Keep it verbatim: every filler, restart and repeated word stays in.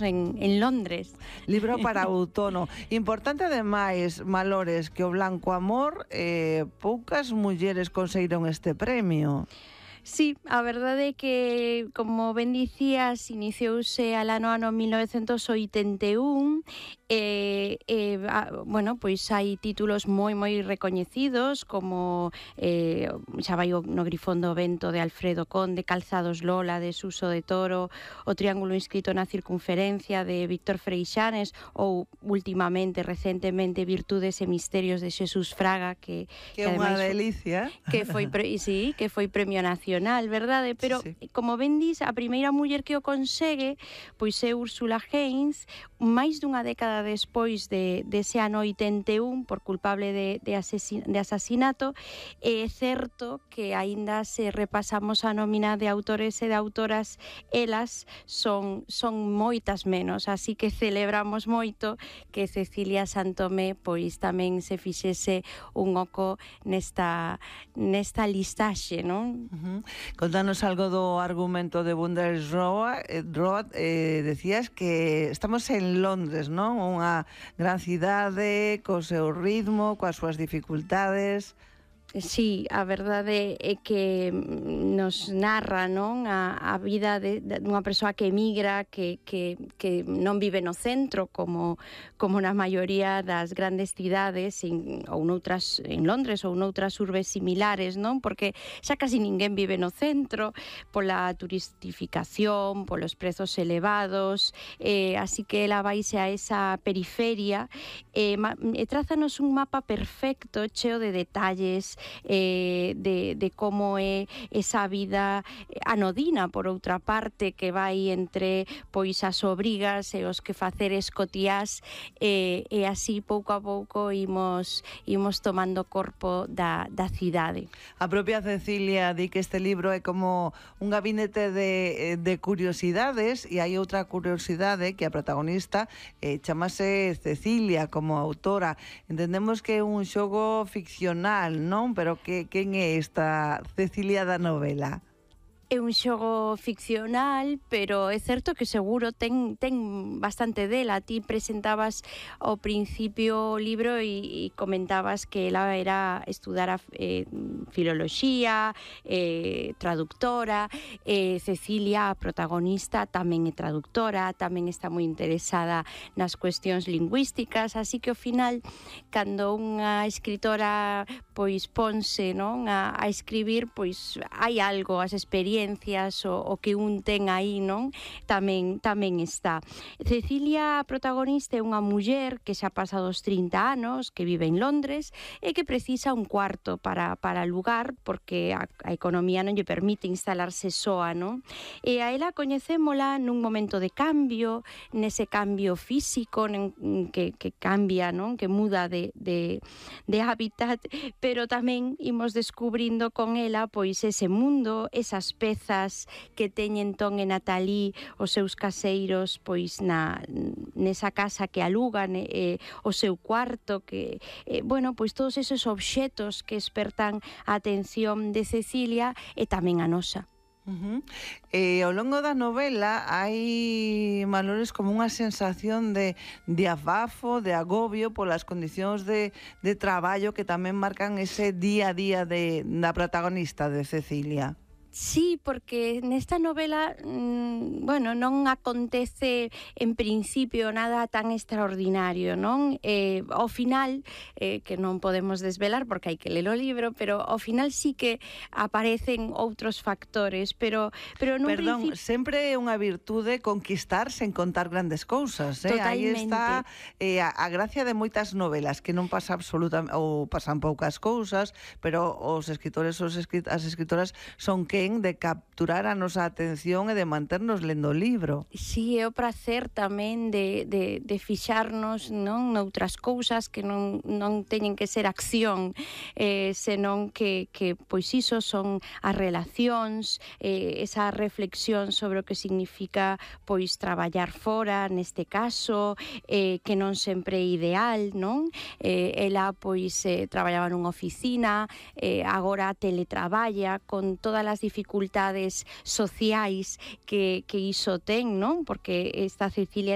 en, en Londres. Libro para outono. Importante ademais, Malores, que o Blanco Amor, eh, poucas mulleres conseguiron este premio. Sí, a verdade é que, como ben dicías, iniciouse alano ano mil novecentos oitenta e un e, e a, bueno, pois hai títulos moi moi recoñecidos como eh, xa vai no Grifón do Vento de Alfredo Conde, Calzados Lola de Suso de Toro, O Triángulo inscrito na circunferencia de Víctor Freixanes ou últimamente, recentemente, Virtudes e Misterios de Xesús Fraga que, que, que unha delicia que foi, pre, sí, que foi premio nacional, verdade? Pero, sí, sí. Como ben dis, a primeira muller que o consegue pois é Úrsula Haynes, máis dunha década despois de, dese ano oitenta e un por culpable de, de, asesin, de asasinato. É certo que aínda se repasamos a nómina de autores e de autoras, elas son, son moitas menos, así que celebramos moito que Cecilia Santomé pois tamén se fixese un oco nesta, nesta listaxe, non? Uh-huh. Contanos algo do argumento de Bundesroad. Road, eh, decías que estamos en Londres, non? Unha gran cidade, co seu ritmo, coas súas dificultades. Sí, a verdade é que nos narra, non, a, a vida de, de unha persoa que emigra, que, que, que non vive no centro como, como na maioría das grandes cidades en, ou noutras, en Londres ou noutras urbes similares, non? Porque xa casi ninguén vive no centro pola turistificación, polos prezos elevados, eh, así que ela vaise a esa periferia e, e trázanos un mapa perfecto, cheo de detalles, Eh, de, de como é esa vida anodina, por outra parte, que vai entre pois as obrigas e os que faceres cotiás, e, e así pouco a pouco imos, imos tomando corpo da, da cidade. A propia Cecilia di que este libro é como un gabinete de, de curiosidades, e hai outra curiosidade que a protagonista eh, chamase Cecilia como autora. Entendemos que é un xogo ficcional, non? Pero que, quen é esta Cecilia da novela? É un xogo ficcional, pero é certo que seguro ten, ten bastante dela. Ti presentabas ao principio o libro e, e comentabas que ela era estudara eh, filoloxía, eh, traductora, eh, Cecilia, a protagonista, tamén é traductora, tamén está moi interesada nas cuestións lingüísticas, así que ao final, cando unha escritora pois ponse, non, a, a escribir, pois hai algo, as experiencias o, o que un ten aí, non? Tamén tamén está. Cecilia, a protagonista, é unha muller que xa pasa dos trinta anos, que vive en Londres e que precisa un cuarto para, para alugar porque a, a economía non lle permite instalarse soa, non? E a ela coñecémola nun momento de cambio, nese cambio físico nen, que, que cambia, non? Que muda de, de, de hábitat, pero tamén imos descubrindo con ela pois ese mundo, esas pezas que teñen Ton e Natalí os seus caseiros pois na nesa casa que alugan, eh, o seu cuarto, que eh, bueno, pois todos esos obxetos que espertan a atención de Cecilia e tamén a nosa. Uh-huh. E ao longo da novela hai, Malores, como unha sensación de, de abafo, de agobio polas condicións de, de traballo que tamén marcan ese día a día de, da protagonista, de Cecilia. Sí, porque nesta novela, mmm, bueno, non acontece en principio nada tan extraordinario, non? Eh, ao final, eh, que non podemos desvelar porque hai que ler o libro, pero ao final sí que aparecen outros factores, pero pero nun Perdón, principio... sempre é unha virtude conquistar sen contar grandes cousas, eh? Aí está eh, a, a gracia de moitas novelas, que non pasa absolutamente, ou pasan poucas cousas, pero os escritores, os escrit as escritoras son que de capturar a nosa atención e de manternos lendo o libro. Si, é o prazer tamén de, de, de fixarnos, non, noutras cousas que non, non teñen que ser acción, eh, senón que, que pois iso son as relacións, eh, esa reflexión sobre o que significa pois traballar fora, neste caso, eh, que non sempre é ideal, non? Eh, ela pois eh, traballaba nunha oficina, eh, agora teletraballa con todas as dificultades sociais que, que iso ten, non? Porque esta Cecilia